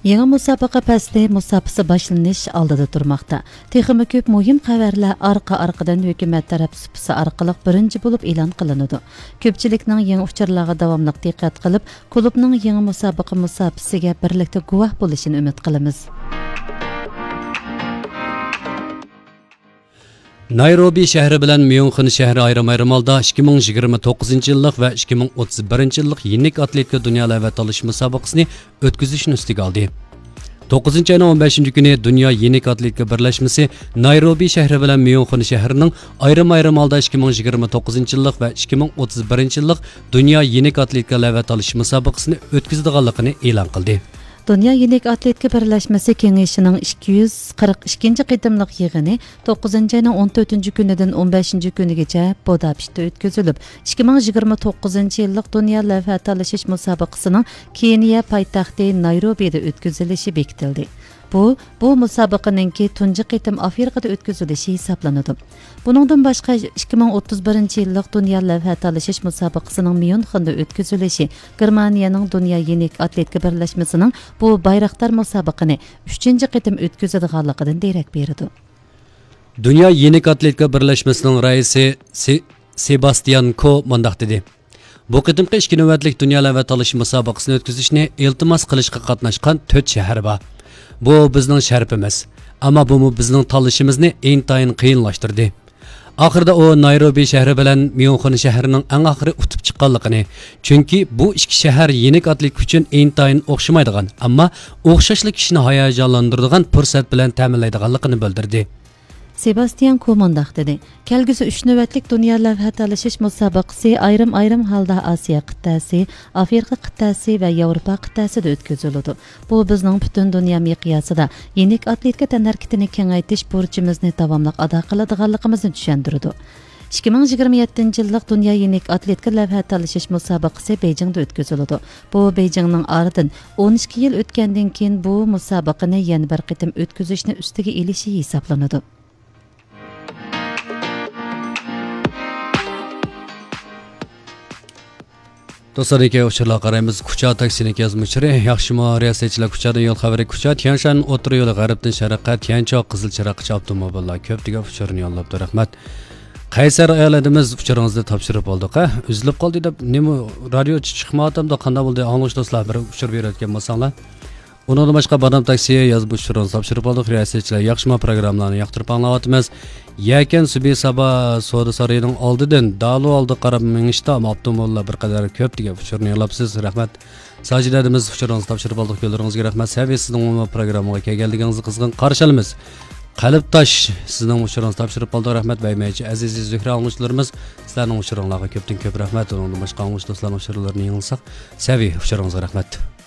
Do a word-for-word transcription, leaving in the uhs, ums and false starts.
يېڭى مۇسابىقە پەسلى مۇساپىسى باشلىنىش ئالدىدا تۇرماقتا. تېخىمۇ كۆپ مۇھىم خەۋەرلەر ئارقا-ئارقىدىن ھۆكۈمەت تەرەپ سۇپىسى ئارقىلىق بىرىنچى بولۇپ ئېلان قىلىنىدۇ. كۆپچىلىكنىڭ يېڭى ئۇچۇرلارغا داۋاملىق دىققەت قىلىپ، كۇلۇبنىڭ يېڭى مۇسابىقە مۇساپىسىگە بىرلىكتە گۇۋاھ بولۇشىنى ئۈمىد قىلىمىز. نايروبى شەھىرى بىلەن ميۇنخېن شەھىرى ئايرىم-ئايرىم ھالدا ئىككى مىڭ يىگىرمە توققۇزىنچى يىللىق ۋە ئىككى مىڭ ئوتتۇز بىرىنچى يىللىق يېنىك ئاتلېتىكا دۇنيا لەۋھە تالىشىش مۇسابىقىسىنى ئۆتكۈزۈشنى ئۈستىگە ئالدى. توققۇزىنچى ئاينىڭ ئون بەشىنچى كۈنى دۇنيا يېنىك ئاتلېتىكا بىرلەشمىسى نايروبى شەھىرى بىلەن ميۇنخېن شەھىرىنىڭ ئايرىم-ئايرىم ھالدا ئىككى مىڭ يىگىرمە توققۇزىنچى يىللىق ۋە ئىككى مىڭ ئوتتۇز بىرىنچى يىللىق دۇنيا يېنىك ئاتلېتىكا لەۋھە تالىشىش مۇسابىقىسىنى ئۆتكۈزىدىغانلىقىنى ئېلان قىلدى. دۇنيا يېنىك ئاتلېتىكا بىرلەشمىسى كېڭىشىنىڭ ئىككى يۈز قىرىق ئىككىنچى قېتىملىق يىغىنى توققۇزىنچى ئاينىڭ ئون تۆتىنچى كۈنىدىن ئون بەشىنچى كۈنىگىچە بۇداپېشتتا ئۆتكۈزۈلۈپ، ئىككى مىڭ يىگىرمە توققۇزىنچى يىللىق دۇنيا لەۋھە تالىشىش مۇسابىقىسىنىڭ كېنىيە پايتەختى نايروبىدا ئۆتكۈزۈلۈشى بېكىتىلدى. بۇ، بۇ مۇسابىقىنىڭكى تۇنجى قېتىم ئافرىقىدا ئۆتكۈزۈلۈشى ھېسابلىنىدۇ. بۇنىڭدىن باشقا، ئىككى مىڭ ئوتتۇز بىرىنچى يىللىق دۇنيا لەۋھە تالىشىش مۇسابىقىسىنىڭ ميۇنخېندا ئۆتكۈزۈلۈشى گېرمانىيەنىڭ دۇنيا يېنىك ئاتلېتىكا بىرلەشمىسىنىڭ بۇ بايراقدار مۇسابىقىنى ئۈچىنچى قېتىم ئۆتكۈزىدىغانلىقىدىن دېرەك بېرىدۇ. دۇنيا يېنىك ئاتلېتىكا بىرلەشمىسىنىڭ رەئىسى سې-، سېباستىيان كو مۇنداق دېدى: بۇ قېتىمقى ئىككى نۆۋەتلىك دۇنيا لەۋھە تالىشىش مۇسابىقىسىنى ئۆتكۈزۈشنى ئىلتىماس قىلىشقا قاتناشقان تۆت شەھەر بار. بۇ بىزنىڭ شەرىپىمىز. ئەمما بۇمۇ بىزنىڭ تاللىشىمىزنى ئىنتايىن قىيىنلاشتۇردى. ئاخىرىدا ئۇ نايروبى شەھىرى بىلەن ميۇنخېن شەھىرىنىڭ ئەڭ ئاخىرى ئۇتۇپ چىققانلىقىنى، چۈنكى بۇ ئىككى شەھەر يېنىك ئاتلېتىكا ئۈچۈن ئىنتايىن ئوخشىمايدىغان، ئەمما ئوخشاشلا كىشىنى ھاياجانلاندۇرىدىغان پۇرسەت بىلەن تەمىنلەيدىغانلىقىنى بىلدۈردى. سېباستىيان كو مۇنداق دېدى: كەلگۈسى ئۈچ نۆۋەتلىك دۇنيا لەۋھە تالىشىش مۇسابىقىسى ئايرىم-ئايرىم ھالدا ئاسىيا قىتئەسى، ئافرىقا قىتئەسى ۋە ياۋروپا قىتئەسىدە ئۆتكۈزۈلىدۇ. بۇ بىزنىڭ پۈتۈن دۇنيا مىقياسىدا يېنىك ئاتلېتىكا تەنھەرىكىتىنى كېڭەيتىش بۇرچىمىزنى داۋاملىق ئادا قىلىدىغانلىقىمىزنى چۈشەندۈرىدۇ. ئىككى مىڭ يىگىرمە يەتتىنچى يىللىق دۇنيا يېنىك ئاتلېتىكا لەۋھە تالىشىش مۇسابىقىسى بېيجىڭدا ئۆتكۈزۈلىدۇ. بۇ بېيجىڭنىڭ ئارىدىن ئون ئىككى يىل ئۆتكەندىن كېيىن بۇ مۇسابىقىنى يەنە بىر قېتىم ئۆتكۈزۈشنى ئۈستىگە ئېلىشى ھېسابلىنىدۇ. دوستلار، كېيىنكى ئۇچۇرلارغا قارايمىز. كۇچا تاكسىنىڭ يازما ئۇچۇرى. ياخشىمۇ رىياسەتچىلەر، كۇچادىن يول خەۋىرى. كۇچا تيەنشان ئوتتۇرا يولى غەربتىن شەرققە تيەنچاۋ قىزىل چىراغقىچە ئاپتوموبىللار كۆپ دېگەن ئۇچۇرنى يوللاپتۇ. رەھمەت. قەيسەر ئايال ئىنىمىز، ئۇچۇرىڭىزنى تاپشۇرۇپ بولدۇق. ھە، ئۈزۈلۈپ قالدى دەپ نېمە، رادىيو چىقمايۋاتامدۇ، قانداق بولدى؟ ئاڭلىغۇچى دوستلار، بىر ئۇچۇر بېرىۋەتكەن بولساڭلار. ئۇنىڭدىن باشقا بادام تاكسى يازما ئۇچۇرىڭىزنى تاپشۇرۇپ بولدۇق. رىياسەتچىلەر، ياخشىمۇ پروگراممىلارنى ياقتۇرۇپ ئاڭلاۋاتىمىز. يەكەن سۈبھى سابا سودا سارىيىنىڭ ئالدىدىن دالۇ ئالدىغا قاراپ مېڭىشتا ئاپتوموبىللار بىر قەدەر كۆپ دېگەن ئۇچۇرنى يوللاپسىز. رەھمەت. ساجىدە ئىنىمىز، ئۇچۇرىڭىزنى تاپشۇرۇپ بولدۇق. يوللىرىڭىزغا رەھمەت. سەۋى، سىزنىڭمۇ پروگراممىغا كەلگەنلىكىڭىزنى قىزغىن قارشى ئالىمىز. قەلبتاش، سىزنىڭ ئۇچۇرىڭىزنى تاپشۇرۇپ بولدۇق. رەھمەت. بەيمەيچى، ئەزىز زۆھرە ئاڭلىغۇچىلىرىمىز، سىلەرنىڭ ئۇچۇرۇڭلارغا كۆپتىن كۆپ رەھمەت. ئۇنىڭدىن باشقا ئاڭلىغۇچى دوستلارنىڭ ئۇچۇرلىرىنى ياڭلىساق، سەۋى، ئۇچۇرىڭىزغا رەھمەت.